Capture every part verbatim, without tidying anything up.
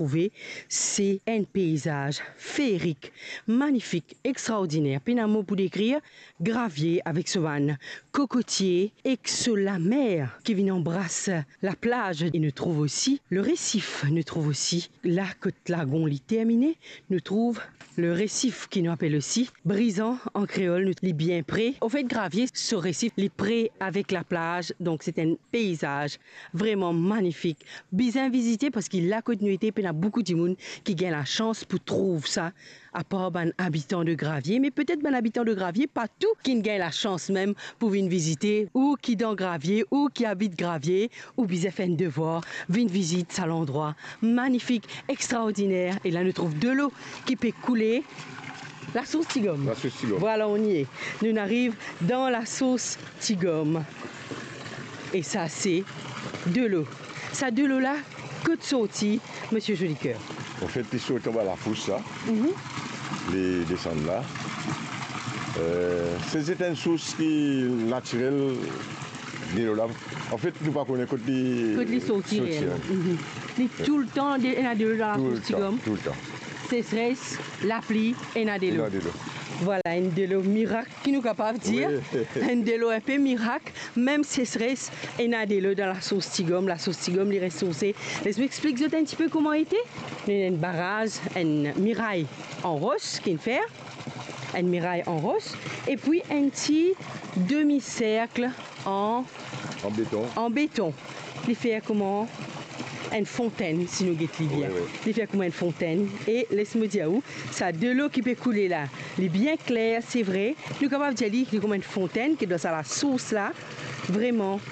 trouve, se enn peizaz feerik, manifik, extraordiner. Pena mo pou dekrir Gravie avek so bann kokotie ek so lamer ki vinn anbras laplaz. E nou trouv osi le resif, nou trouv osi la kot lagon li termine, nou trouv le resif ki nou apel osi Brizan an kreol, nou, li bien pre. Anfet, Gravie, so resif, li pre avek laplaz, donk se enn peizaz vreman manifik. Bizin vizite, parski la kot nou ete, pena boukou dimoun ki gagn lasans pou trouv sa, apar bann abitan de Gravie, me petet bann abitan de Gravie pa tou ki gagn lasans mem pou vinn vizite, ou ki dan Gravie, ou ki abit Gravie, ou bizin fer enn devwar, vinn vizit sa landrwa manifik, extraordiner. E la nou trouv delo ki pe koule. Lasours Tigom. Lasours Tigom. Vwala, on y est. Nou'nn ariv dan lasours Tigom. E sa se delo. Sa delo la, kot sorti, Misie Jolicoeur? Anfet, li sorti anba lafous la. Mhm. Li desann la. Eh, se, se enn sours ki natirel, delo la. Anfet, nou pa kone kot li, kot li sorti, sorti, reelman. Hein. Mhm. Li toultan de-, ena delo dan lasours Tigom. Toultan, toultan. Sesres, lapli, ena delo. Ena delo. Vwala, enn delo mirak ki nou kapav dir. Wi. Enn delo inpe mirak, mem sesres, ena delo dan lasours Tigom, lasours Tigom li resourse. Les mo explik zot enn tipe kouma li ete. Nou ena enn baraz, enn miray an ros ki'nn fer, enn miray an ros, epi enn ti demi-serk an, an beton. An beton. Li fer kouma enn fontenn, si nou get li bien. Wi, wi. Li fer kouma enn fontenn. E les mo dir ou, sa delo ki pe koule la, li bien kler, se vre. Nou kapav dir li, li kouma enn fontenn, ki dan sa lasours la, vreman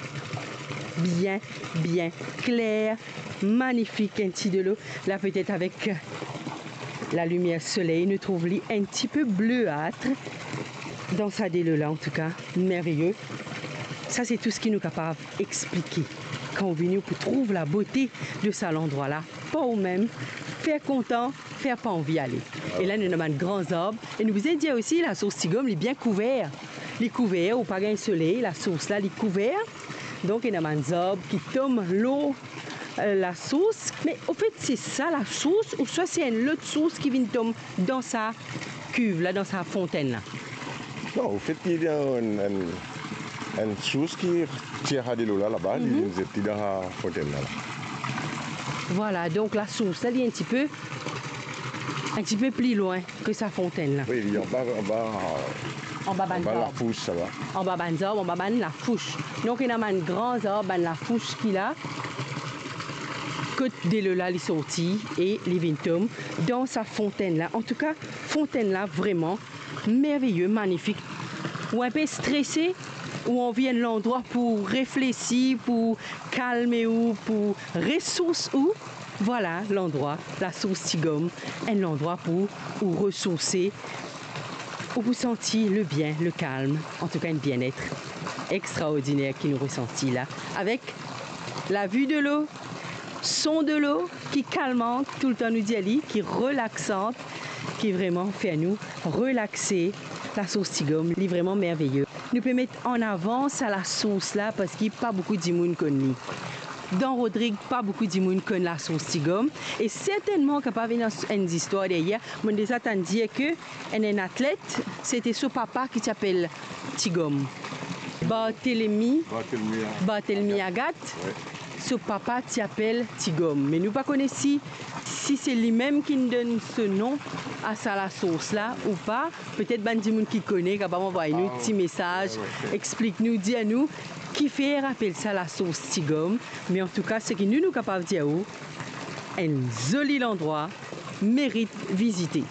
bien, bien kler, manifik, enn ti delo. La, petet avek lalimier soley, nou trouv li enn tipe bleat dan sa delo la, antouka, merveye. Sa, se tou seki nou kapav explike. Kan ou vini, ou pou trouv labote de sa landrwa la, par ou mem, fer kontan, fer pa anvi ale. E la, nou ena bann gran zarb, e nou bizin dir osi, lasours Tigom, li bien kouver. Li kouver, ou pa gagn soley, lasours la, li kouver. Donk, ena bann zarb ki tom lor, eh, lasours. Me, anfet, se sa lasours, ouswa se enn lot sours ki vinn tom dan sa kiv la, dan sa fontenn la? Non, anfet, li enn, enn, enn sours ki tir sa delo la, laba, li vinn zet li dan sa fontenn la, la. Vwala, donk lasours la, li enn tipe, enn tipe pli lwin ke sa fontenn la. Wi, li anba, anba, anba bann zarb. Anba lafous, sa va. Anba bann zarb, anba bann lafous. Donk, ena bann gran zarb, bann lafous ki la, kot delo la li sorti e li vinn tom dan sa fontenn la. Antouka, fontenn la, vreman merveye, manifik. Ou inpe strese, ou anvi enn landrwa pou reflesi, pou kalme ou, pou resours ou, vwala landrwa, lasours Tigom, enn landrwa pou ou resourse, ou pou santi le bien, le kalm, antouka enn bienet extraordiner ki nou resanti la, avek lavi delo, son delo ki kalmant, toultan nou dir li, ki relaksant, ki vreman fer nou relakse. Lasours Tigom, li vreman merveye. Nou pe met an avan sa lasours la, parski pa boukou dimoun konn li. Dan Rodrig, pa boukou dimoun konn lasours Tigom, e sertennman kapav ena enn zistwar deryer. Mo'nn deza tann dir ke enn, enn atlet, sete so papa ki ti apel Tigom. Barthelemy, Barthelemy, Barthelemy Agathe. Agathe. Wi. So papa ti apel Tigom. Me nou pa kone si, si se limem ki'nn donn so nom a sa lasours la ou pa. Petet bann dimoun ki kone kapav anvway nou ti mesaz, wi, wi, explik nou, dir nou kifer apel sa lasours Tigom. Me antouka, seki nou, nou kapav dir ou, enn zoli landrwa, merit vizite.